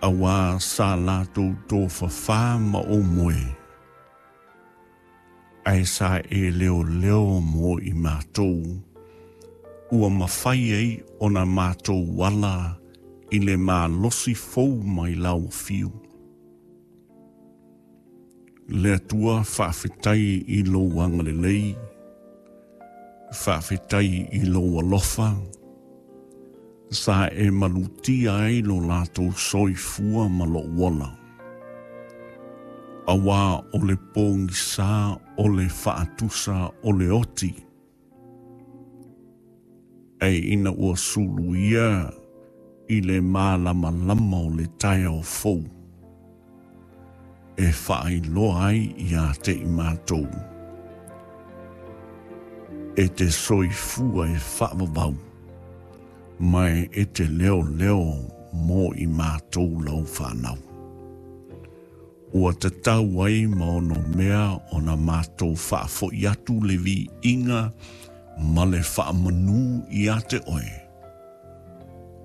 Auā sa latou tofafā ma ou moe, ae sa e leoleo mo i matou, ua mafai ai ona matou ala i le malosi fou mai lau afio. Le Atua faafetai i lou agalelei, faafetai i lou alofa, sa e malutia ai lo latou soifua ma lou ola. Auā o le pogisa o le faatusa o le oti, ae ina ua suluia i le malamalama o le taeao fou, e faailoa ai ia te i matou, e te soifua e faavavau, ma e te leoleo mo i matou lau fanau. Ua tatau ai ma onomea ona matou faafoi atu le viiga ma le faamanu ia te oe,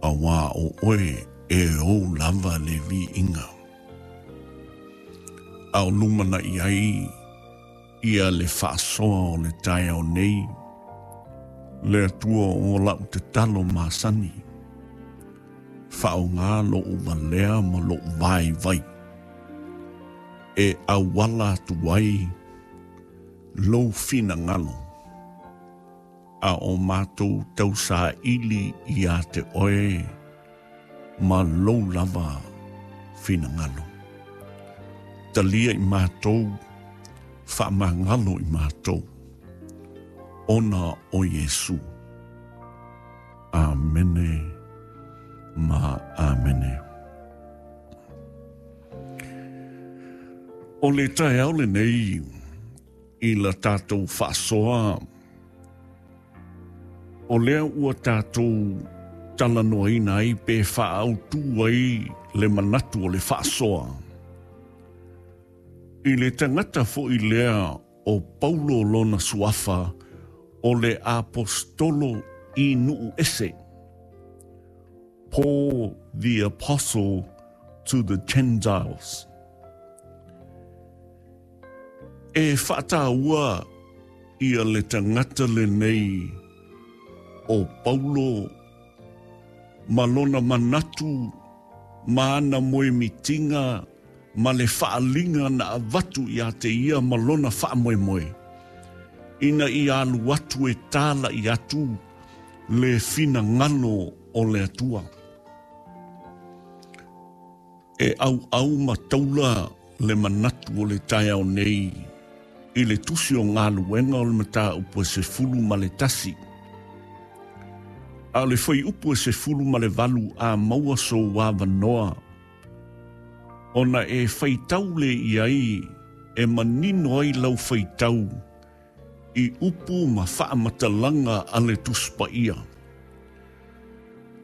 auā o oe e ou lava le viiga. A o lumanai ai ia le faasoa o le taeao nei, le Atua o lau tatalo masani, faaaoga lou valea ma lou vaivai, e auala atu ai lou finagalo, a o matou tausaili ia te oe ma lou lava finagalo. Talia i matou, faamagalo i matou, ona o Iesu. Amene ma amene. O le taeao lenei i la tatou faasoa, o lea ua tatou talanoaina ai pe faaautu ai le manatu o le faasoa i le tagata foi lea o Paulo lona suafa o le aposetolo i nuu ese, Paul the Apostle to the Gentiles. E faataua ia le tagata lenei o Paulo ma lona manatu ma ana moemitiga ma le faaaliga na avatu ia te ia ma lona faamoemoe, ina ia alu atu e tālaʻi atu le finagalo o le Atua. E ʻauʻau ma taula le manatu o le taeao nei i le tusi o Galuega o le mataupu e 11. A o le fuaiupu e 18 a maua sou avanoa, ona e faitau lea i ai e manino ai lau faitau i upu ma faamatalaga a le Tusi Paia.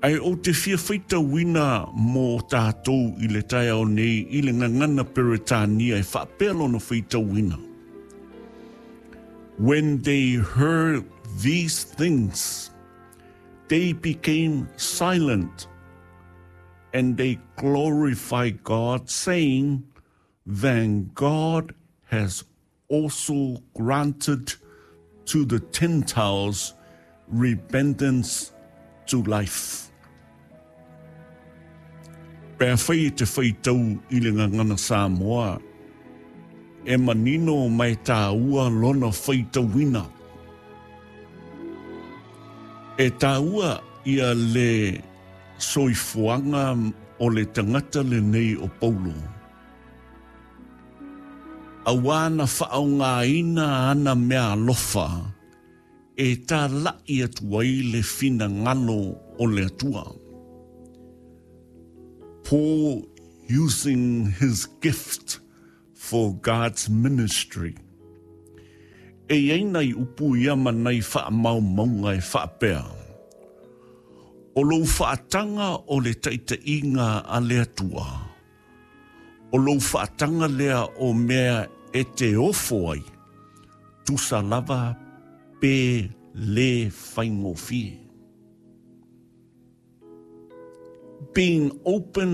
Ae ou te fia faitauina mo tatou i le taeao nei i le gagana Peretania e faapea lona faitauina. When they heard these things, they became silent and they glorified God, saying, Then God has also granted to the Gentiles repentance to life. Pe afai e te faitau i le gagana Samoa, e manino ma e tāua lona faitauina. E tāua ia le soifuaga o le tagata lenei o Paulo. Auā na faaaogaina ana mea alofa e tālaʻi atu ai le finagalo o le Atua. Paul using his gift for God's ministry. E i ai nai upu ia ma nai faamaumauga e faapea, O lou faataga o le taitaiga a le Atua, o lou faataga lea o mea e te ofo ai, tusa lava pe lē faigofie. Being open.